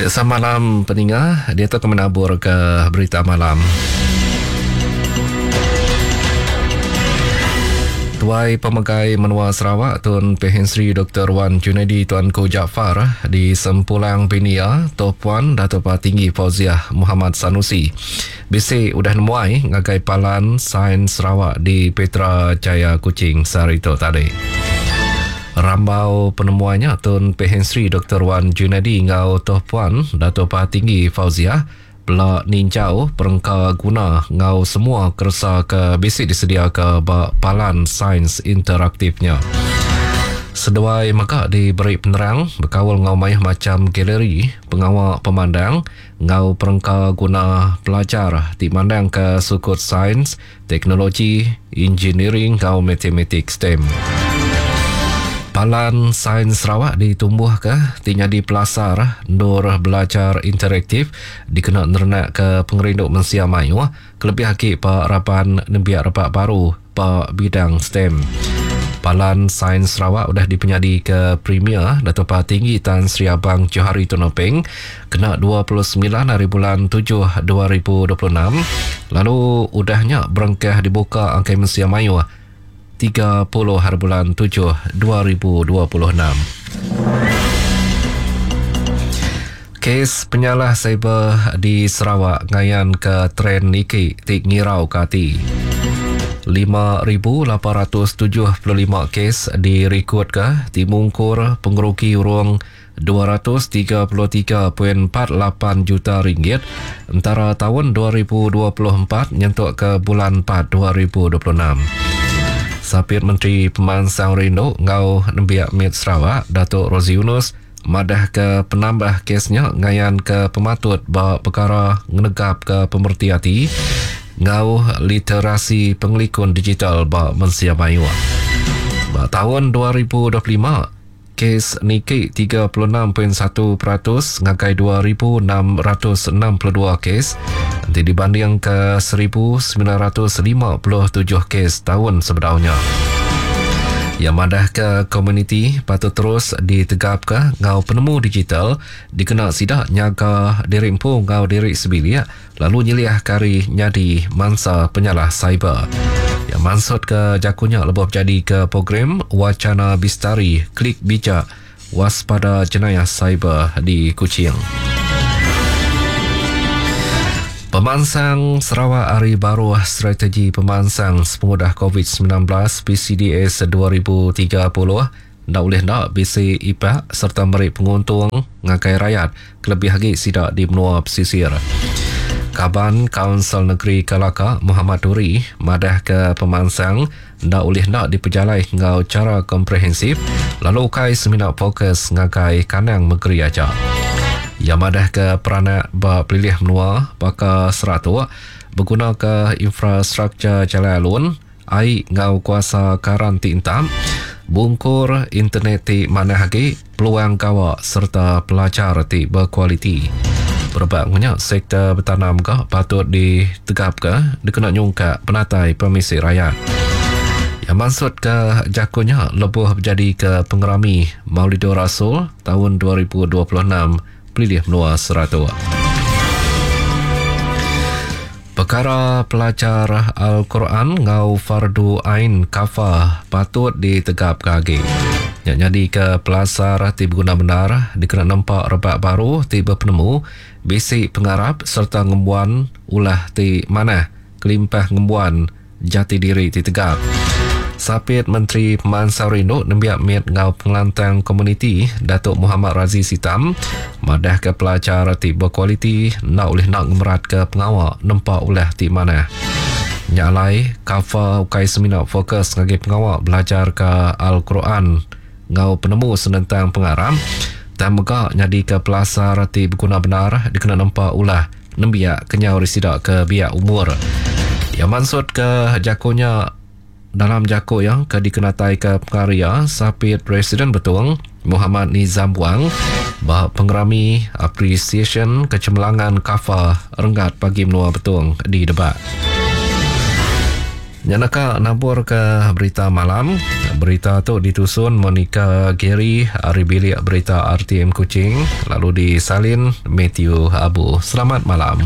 Samalam peninga diatu ke menabur ke berita malam. Tuai Pemegai Menua Sarawak Tun Pehin Sri Dr. Wan Junaidi Tuanku Jaafar di Sempulang Binia Toh Puan Dato Patinggi Fauziah Muhammad Sanusi bisi udah nemuai ngagai Palan Sains Sarawak di Petra Jaya Kuching sehari tu tadi. Rambau penemuai nya Tun Pehin Sri Dr. Wan Junaidi enggau Toh Puan Dato Patinggi Fauziah Bela ninjau perengka guna enggau semua keresa ke bisi disediaka ba palan sains interaktif nya. Seduai mega diberi penerang bekaul enggau mayuh macham galeri, pengawa pemandang enggau perengka guna pelajar ti mandangka sukut sains, Teknologi, Injiniring enggau Matematik STEM. Palan Sains Sarawak ditumbuhka ti nyadi pelasar endur belajar interaktif dikena nerenakka pengerindu mensia mayuh kelebih agi ba raban nembiak rebak baru ba bidang STEM. Palan Sains Sarawak udah dipenyadika Premier Datuk Patinggi Tan Sri Abang Johari Tun Openg kena 29 hari bulan 7 2026 lalu udah nya berengkah dibuka angkai mensia mayuh 30 hari bulan 7 2026. Kes penyalah cyber di Sarawak ngayanka trend niki ti ngirauka ati. 5,875 kes dirikodka ti mungkur pengerugi urung 233.48 juta ringgit entara taun 2024 nyentuk ke bulan 4 2026. Sapit Menteri Pemansang Rindu enggau Nembiak Mit Sarawak, Datuk Rosey Yunus madahka penambah kes nya ngayanka pematut ba pekara ngenegapka pemereti ati enggau literasi pengelikun digital ba mensia mayuh. Ba taun 2025, Kes niki 36.1% ngagai 2,662 kes enti dibandingka 1,957 kes taun sebedau nya. Iya madahka komuniti patut terus ditegapka enggau penemu digital dikena sida nyaga diri empu enggau diri sebilik lalu nyeliahka ari nyadi mansa penyalah cyber. Iya mansutka jaku nya lebuh bejadika program Wacana Bistari Klik Bijak Waspada Jenayah Cyber di Kuching. Pemansang Sarawak ari baruh Strategi Pemansang Sepengudah Covid-19 PCDS 2030 Enda ulih enda bisi ipak sereta meri penguntung ngagai rayat kelebih agi sida di menua pesisir. Kaban Kaunsil Negeri Kalaka Mohamad Duri madahka pemansang enda ulih enda dipejalai enggau chara komprehensif lalu ukai semina fokus ngagai kandang mengeri aja. Iya madahka peranak ba pelilih menua baka Seratok begunaka infrastruktur jalai alun, ai enggau kuasa karan ti entap, bungkur internet ti manah agi, peluang gawa sereta pelajar ti bekualiti. Berebak enggau nya, sektor betanam mega patut ditegapka dikena nyungkak penatai pemisi rayat. Iya mansutka jaku nya lebuh bejadika pengerami Maulidur Rasul taun 2026 Pelilih Menua Seratok. Pekara pelajar Al-Quran enggau Fardu Ain Kafa patut ditegapka agi. Nya nyadika pelasar ti beguna bendar dikena nempa rebak baru ti bepenemu, bisi pengarap sereta ngembuan ulah ti manah kelimpah ngembuan jati diri ti tegap. Sapit Menteri Pemansang Rindu Nembiak Mit enggau Pengelantang Komuniti Datuk Mohamad Razi Sitam madahka pelajar ti bekualiti enda ulih enda ngemeratka pengawa nempa ulah ti manah. Nya alai, KAFA ukai semina fokus ngagai pengawa belajarka Al-Quran enggau penemu senentang pengarap tang mega nyadika pelasar ti beguna bendar dikena nempa ulah nembiak kenyau ari sida ke biak umur. Iya mansutka jaku nya dalam jaku iya ke dikenataika pengarya Sapit Presiden Betong Mohamad Nizam Buang ba pengerami Apresiasyen Kecemerlangan Kafa Renggat Bagi Menua Betong di Debak. Nya naka nabur ke berita malam. Berita tu ditusun Monica Gary ari bilik berita RTM Kuching lalu disalin Matthew Abu. Selamat malam.